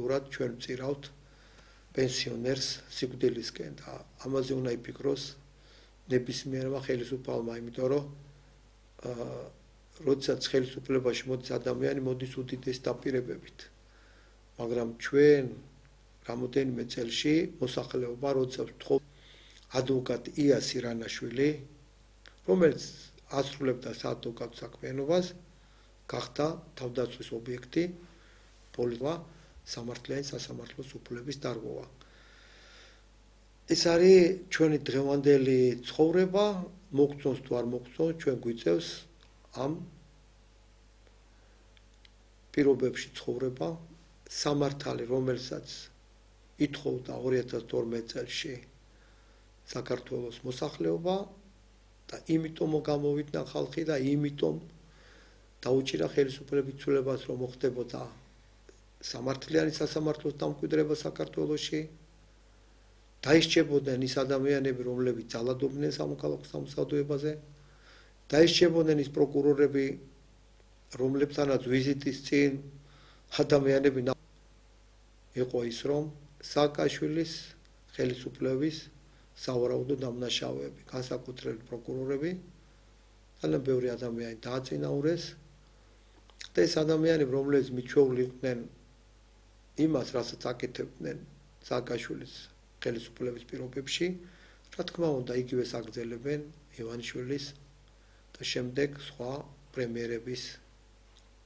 აქტიურად ჩვენ ვწირავთ პენსიონერს სიკვდილისკენ და ამაზე უნდა იფიქროს ნებისმიერმა ხელისუფალმა, იმიტომ რომ როდესაც ხელისუფლებაში მოდის ადამიანი, მოდის უდიდეს დაპირებებით. მაგრამ ჩვენ რამოდენიმე წელში მოსახლეობა, როდესაც ვთხოვ ადვოკატ იას ირანაშვილი, რომელიც ასრულებდა საადვოკატო საქმიანობას, გახდა თავდაცვის ობიექტი, პოლიტიკა, სამართლიანი სასამართლოს უფლების დარღვევა. ეს არის ჩვენი დღევანდელი ცხოვრება, მოგწონს თუ არ მოგწონს, ჩვენ გვიწევს ამ პირობებში ცხოვრება, სამართალი, რომელსაც ითხოვდა 2012 წელში საქართველოს მოსახლეობა და იმიტომ გამოვიდნენ ხალხი და იმიტომ დაუჭირა ხელისუფლების ცვლილებას, რომ მოხდებოდა სამართლიანი სასამართლოს დამკვიდრება საქართველოში, დაისჭებოდნენ ის ადამიანები, რომლებიც ძალადობდნენ სამოქალაქო სამსახურებაზე, დაისჭებოდნენ ის პროკურორები, რომლებთანაც ვიზიტის წინ ადამიანები იყო ის, რომ სააკაშვილის ხელისუფლების სავარაუდო დამნაშავეები, განსაკუთრებით პროკურორები, ძალიან ბევრი ადამიანი დააწინაურეს და ეს ადამიანები, რომლებიც მიჩვეული იყვნენ იმას, რასაც აკეთებდნენ სააკაშვილის ხელისუფლების პირობებში, რა თქმა უნდა, იგივეს აგრძელებენ ივანიშვილის და შემდეგ სხვა პრემიერების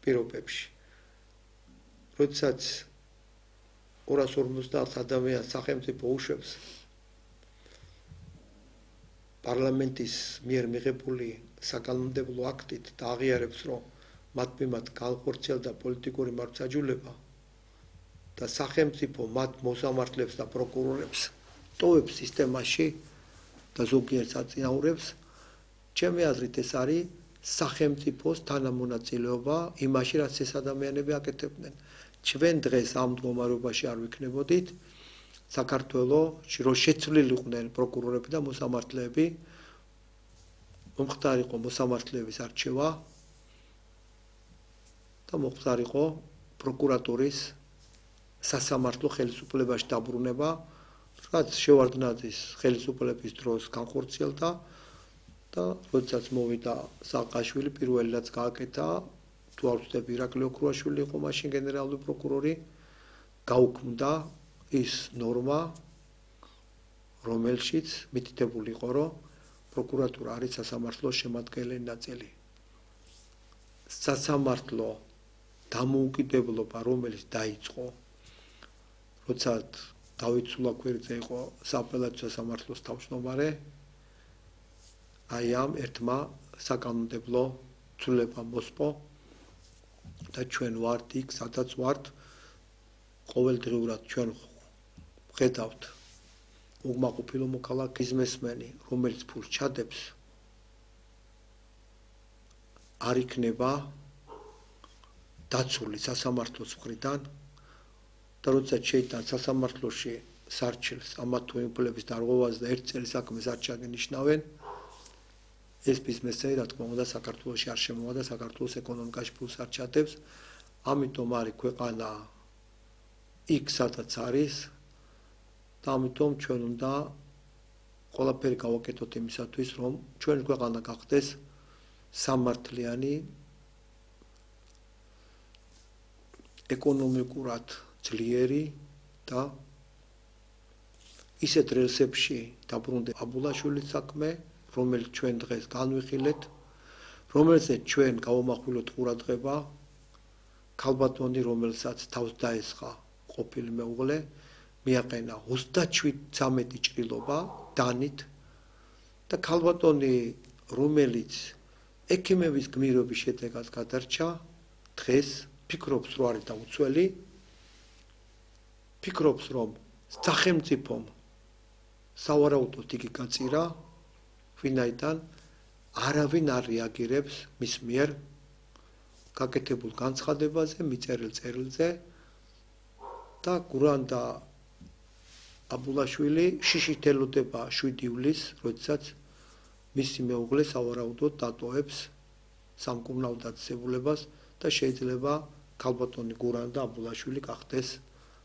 პირობებში. როდესაც 250 ადამიანს სახელმწიფო უშვებს პარლამენტის მიერ მიღებული საკანონმდებლო აქტით და აღიარებს, რომ მათ მიმართ განხორციელდა პოლიტიკური მართლმსაჯულება და სახელმწიფო მათ მოსამართლებს და პროკურორებს ტოვებს სისტემაში და ზოგიერთს აწინაურებს, ჩემი აზრით ეს არის სახელმწიფოს თანამონაწილეობა იმაში, რაც ეს ადამიანები აკეთებდნენ. ჩვენ დღეს ამ მდგომარეობაში არ ვიქნებოდით, საქართველოში რო შეცვლილიყვნენ პროკურორები და მოსამართლეები, მომხდარ იყო მოსამართლეების არჩევა და მომხდარ იყო პროკურატურის სასამართლო ხელისუფლებაში დაბრუნება, რაც შევარდნაძის ხელისუფლების დროს განხორციელდა და როდესაც მოვიდა სააკაშვილი, პირველი რაც გააკეთა, თუ არ ვცდები, ირაკლი ოქრუაშვილი იყო მაშინ გენერალური პროკურორი, გაუქმდა ის ნორმა, რომელშიც მითითებული იყო, რომ პროკურატურა არის სასამართლოს შემადგენელი ნაწილი. სასამართლო დამოუკიდებლობა, რომელიც დაიწყო, როცა დავით სულაქვერიძე იყო სააპელაციო სასამართლოს თავმჯდომარე, აი ამ ერთმა საკანონმდებლო ცვლილებამ მოსპო და ჩვენ ვართ იქ, სადაც ვართ, ყოველდღიურად ჩვენ ვხედავთ უკმაყოფილო მოქალაქის მესმენი, რომელიც ფულს ჩადებს, არ იქნება დაცული სასამართლოს მხრიდან და როდესაც შეიტან სასამართლოში სარჩელს ამა თუ იმ უფლების დარღვევაზე და ერთ წელი საქმეს არ ჩაგენიშნავენ, ეს ბიზნესი, რა თქმა უნდა, საქართველოში არ შემოვა და საქართველოს ეკონომიკაში ფულს არ ჩადებს, ამიტომ არის ქვეყანა იქ, სადაც არის და ამიტომ ჩვენ უნდა ყველაფერი გავაკეთოთ იმისათვის, რომ ჩვენი ქვეყანა გახდეს სამართლიანი, ეკონომიკურად ძლიერი და ისეთ რელსებში დაბრუნდა აბულაშვილის საქმე, რომელიც ჩვენ დღეს განვიხილეთ, რომელზეც ჩვენ გავამახვილოთ ყურადღება, ქალბატონი, რომელსაც თავს დაესხა ყოფილი მეუღლე, მიაყენა 37 ჭრილობა დანით და ქალბატონი, რომელიც ექიმების გმირობის შედეგად გადარჩა, დღეს ფიქრობს, რომ არის დაუცველი, ფიქრობს, რომ სახელმწიფომ სავარაუდოდ იგი გაწირა, ვინაიდან არავინ არ რეაგირებს მის მიერ გაკეთებულ განცხადებაზე, მიწერილ წერილზე და გურანდა აბულაშვილი შიშით ელოდება 7 ივლისს, როდესაც მისი მეუღლე სავარაუდოდ დატოვებს სამკურნალო დაწესებულებას და შეიძლება ქალბატონი გურანდა აბულაშვილი გახდეს